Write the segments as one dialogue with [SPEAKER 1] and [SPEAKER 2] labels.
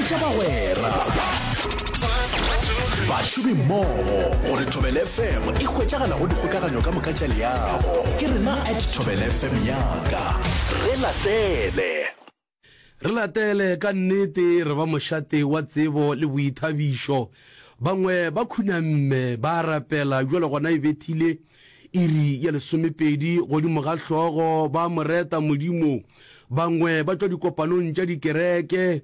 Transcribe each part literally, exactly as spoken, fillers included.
[SPEAKER 1] Botša bagwera, bašomi mmogo gore Thobela F M e hwetšagala go dikgokaganyo ka moka tša leago. Ke rena at Thobela F M yaka. Re latele.
[SPEAKER 2] Re latele ka nnete re ba mošate wa tsebo le boithabišo. Bangwe ba khunamme ba rapela bjale gona e bethile iri ya lesomepedi godimo ga hlogo ba mo reta Modimo. Bangwe ba tšwa dikopanong tša dikereke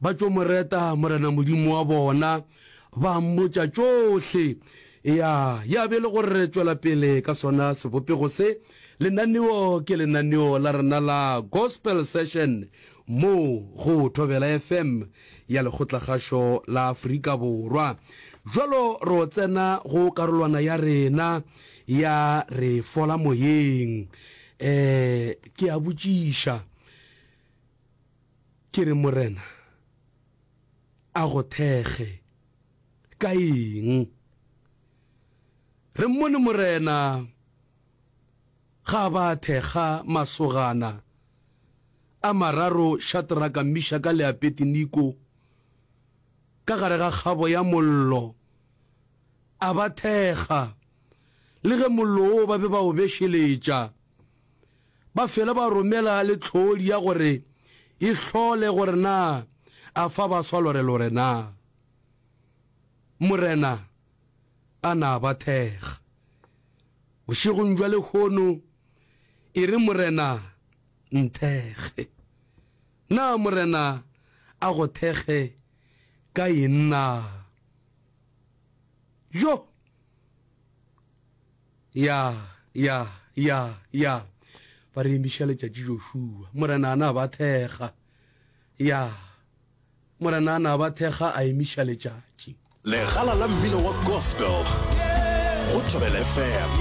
[SPEAKER 2] ba tšo mo reta Morena Modimo wa bona ba mmotša tšohle. Ya, ya be e le gore re tšwela pele ka sona sebopego se. Lenaneo ke lenaneo la rena la Gospel Session mo go Thobela F M ya Lekgotlakgašo la Afrika Borwa. Bjalo ro tsena go karolwana ya rena ya Re Fola Moyeng. Um ke a botšiša ke re Morena a go thekge ka eng? Re mmone Morena ga ba thekga masogana a mararo Shadraka, Mishaka le Abednego ka gare ga kgabo ya mollo, a ba thekga, le ge mollo wo ba be ba o bešeletša. Ba fela ba romela le tlhodi ya gore e hlole gore na a fa ba swa lorelore na. Morena a na ba thekga. Bošegong bja lehono e re Morena nthekge. Na Morena a go thekge ka eng na? Jo! Ya, ya, ya, ya. Ba re emiša letšatši Joshua. Morena a na ba thekga. Ya. Morena a na ba thekga a emiša letšatši.
[SPEAKER 1] Legala la mmino wa gospel go Thobela F M.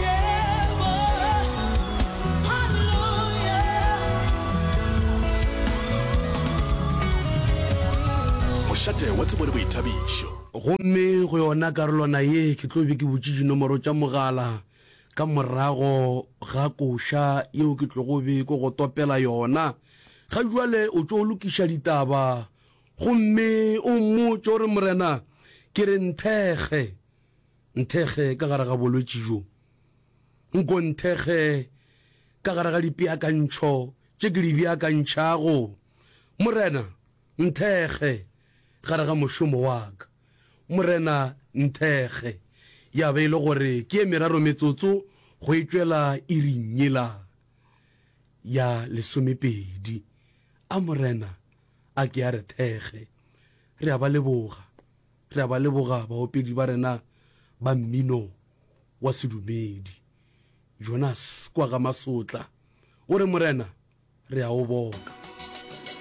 [SPEAKER 1] Mošate wa tsebo le boithabišo.
[SPEAKER 2] Gomme go yona karolwana ye ke tlo be ke butše dinomoro tša mogala ka morago ga koša yeo ke tlogo be ke go topela yona. Ga jwale o tšo lokiša ditaba gomme o mmotše o re Morena ke re nthekge, nthekge ka gare ga bolwetši bjo, nko nthekge ka gare ga dipeakantšho tše ke di beakantšhago, Morena nthekge gare ga mošomo wa ka, Morena nthekge. Ya be e le gore ke ye meraro metsotso go e tšwela iring yela ya lesomepedi. A Morena a ke a re thekge. Re a ba leboga. Re a ba leboga baopedi ba rena ba mmino wa sedumedi. Jonas kwa ga Masotla o re Morena re a o boka.